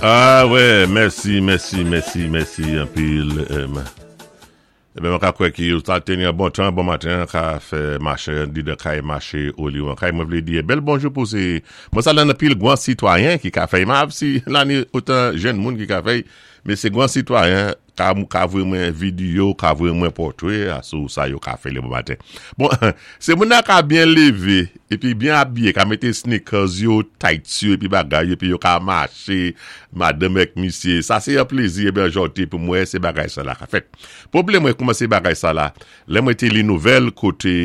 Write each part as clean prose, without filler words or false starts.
Ah wè, mèsi, mèsi, mèsi, mèsi anpil. Eben mwen ka kwè ki ou ta teni an bon tan, bon maten, ka fè mache di de kay mache ou li an kay. Mwen vle di bèl bonjou pou se mwen sa lan anpil gwan sitwayen ki ka fè ma si lan otan jèn moun ki ka fè men se gwan sitwayen Ka ka voye mwen video, ka voye mwen pòtre sou sa yo ka fè le bon maten. Bon, se moun nan ka byen leve, epi byen abiye, ka mete sneakers yo, tights yo, epi bagay yo, epi yo ka mache, madanm ak misye. Sa se yon plezi e byen jòte pou mwen se bagay sa la ka fèt. Pwoblèm mwen kouman se bagay sa la, lè mwen te li nouvèl kote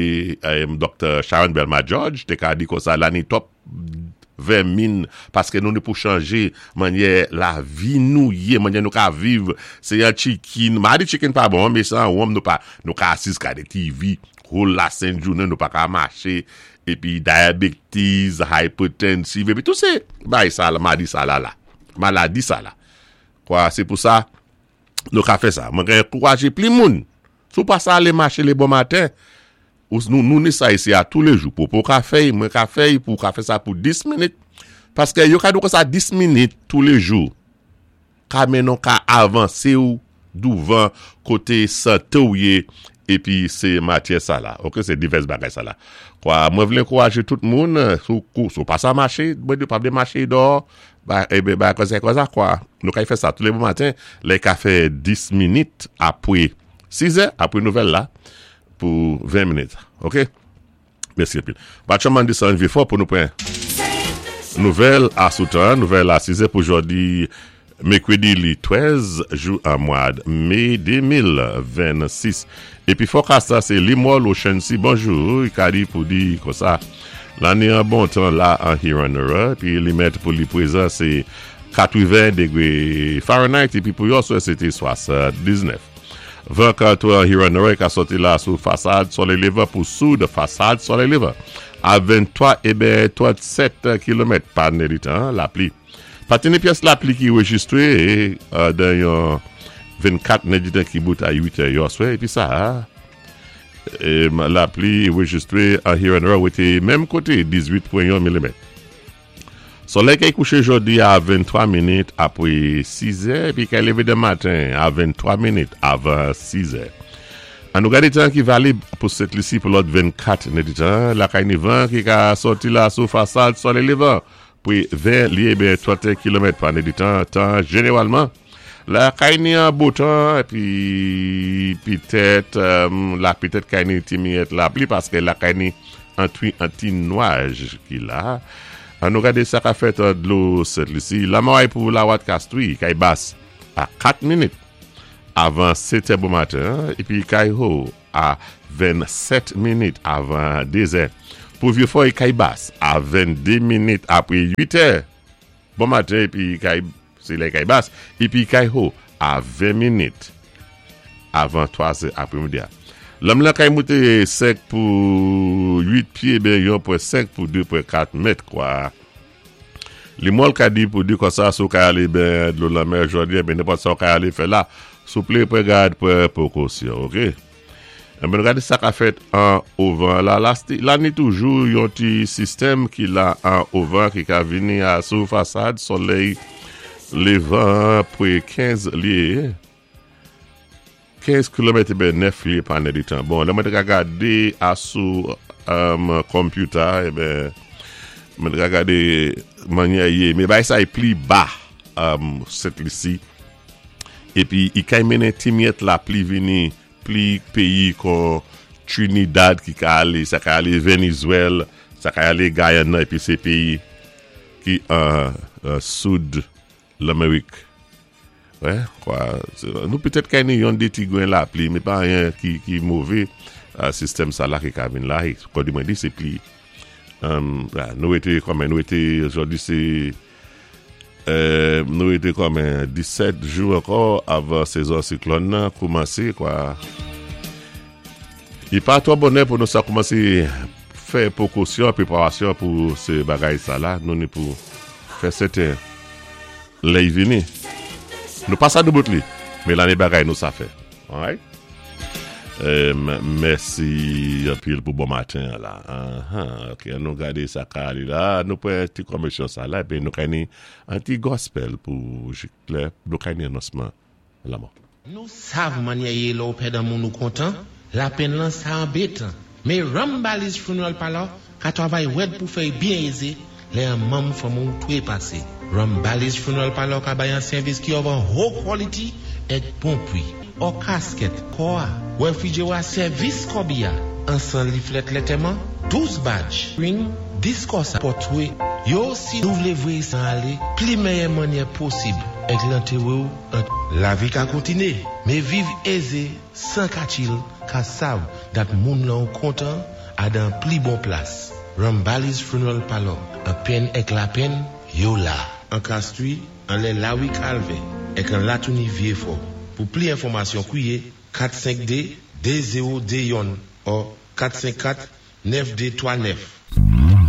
Doktè Sharon Belma George te ka di konsa la ni twòp vèmin paske nou ni pou chanje manyè lavi nou ye manyè nou ka viv se yon chikin ma di chikin pa bon men se an wonm nou pa nou ka asiz gade TV whole la sent jounen nou pa ka mache epi diabetes hypertensive epi tout se bay sa la madi sa la la maladi sa la kwa se pou sa nou ka fè sa mwen gen ankouraje pli moun sou pa sa ale mache le bon maten Ou nou nou ni sa isi a toulejou popo ka fèy mwen ka fèy pou ka fè sa pou 10 minit paske yo ka di w konsa 10 minit toulejou ka mennen w ka avanse w douvan kote sante w ye epi se matyè sa la ok se divès bagay sa la kwa mwen vle ankouraje tout moun sou kou sou pa sa mache mwen di w pa vle mache dò ba e ba konsa konsa kwa nou ka fè sa toule bon maten lè ka fè 10 minit apre 6 è apre nouvèl la Pou 20 minit ok Mèsi anpil Batchan mande sa rive fò pou nou pran nouvèl a sou tan nouvèl a 6 è pou jòdi mekredi li 13 jou an mwad me 2026 epi fòkas la se Limòl Ochansi bonjou Ikadi pou di konsa lane an bon tan la an Hiranura epi li mèt pou li prezan se 80 degre Fahrenheit epi pou yòswè se te 79. Van kanton an Huron-Norè ka sòti la sou fasad solèy levan pou soud fasad solèy levan a 23 e ben 37 kilomèt pa nèditan lapli. Patine pyès lapli ki rejistre dan yon 24 nèditan ki bout a 8 è yòswè epi sa a lapli rejistre an Huron-Norè wete menm kote 18.1 milimèt. Solèy kay kouche jodi a 23 minit apre 6 zè epi kay leve demen maten a 23 minit avan 6 zè. An nou gade tan ki valib pou Sent Lisi pou lòt 24 nèditan, lakay ni van ki ka sòti la sou fasad solèy levan pre 20 lye ben 31 kilomèt pa nèditan, tan jeneralman Lakay ni an bo tan epi petèt la petèt kay ni ti miyèt lapli paske lakay ni antwi an ti nwaj ki la. An nou gade sa ka fèt an dlo Sent Lisi. Lamaway pou Lawat Kastwi kay bas a 4 minit avan 7 è bon maten epi kay ho a 27 minit avan 2 zè. Pou Vyefòy kay bas a 22 minit apre 8 è bon maten epi kay Se lè kay bas epi kay ho a 20 minit avan 3 zè apremidi a. Lanm lan kay moute 5 pou 8 pye ben 1 pwen 5 pou 2 pwen 4 mèt kwa. Li mòl ka di pou di konsa si w ka ale ben dlo lanmè jodi a ben nenpòt sa w ka ale fè la souple pran gad pran prekosyon ok. Enben gade sa ka fèt an ovan la la ni toujou yon ti sistèm ki la an ovan ki ka vini a sou fasad solèy levan an pre 15 lye 15 kilomèt eben 9 lye pa nèditan bon lè mwen te ka gade a sou konpyouta eben mwen te ka gade manyè ye men bagay sa e pli ba Sent Lisi Epi i kay mennen ti myèt lapli vini pli peyi kon Trinidad ki ka ale, sa ka ale Venizwèl, sa ka ale Gayana epi se peyi ki an soud Lanmerik. Wè, kwa, nou petèt kay ni yon de ti gren lapli, men pa anyen ki move sistèm sa la ki ka vin la. Kòdi mwen di se pli, nou rete kòmen, nou rete jodi se. Nou rete kòmen 17 jou ankò avan sezon siklòn nan koumanse kwa. Li pa twò bonè pou nou sa koumanse fè pwokosyon, preparasyon pou se bagay sa la. Nou ni pou fè sèten lè y vini. Nou pa sa doubout li, men lane bagay nou sa fè. Alright? Mèsi anpil pou bon maten an la. Ok, an nou gade sa ka ale la. Nou pran ti kòmesyon sa la epi nou ka ni an ti gospel pou jik lè nou ka ni anonsman lanmò. Nou sav mannyè yé lè w pèd an moun ou kontan, lapenn lan sa anbetan. Mé Rambali's Funeral Parlor ka twavay wèd pou fè y byen ézé lè an manm fanmi w twe pasé. Rambali's Funeral Parlor ka bay an sèvis ki of an ho quality èk bon pwi. Ò kaskèt, kò a, wèfrijewa sèvis kòbi a, ansan liflèt lètèman, 12 badj, ring, 10 kò sa pòtwe yo si nou vlé voyé san alé pli mèyè mannyè posib èk lantewe w an Lavi ka kontiné, mé viv ézé 104 il ka sav dat moun lan ou kontan a dan pli bon plas. Rambali's Funeral Parlor, an penn èk lapenn, yo la. An Castries, anlè Lawi Kalvè, èk an Latouni Vyefò. Pou pli enfòmasyon kwiye 452 2021 ò 454 9239.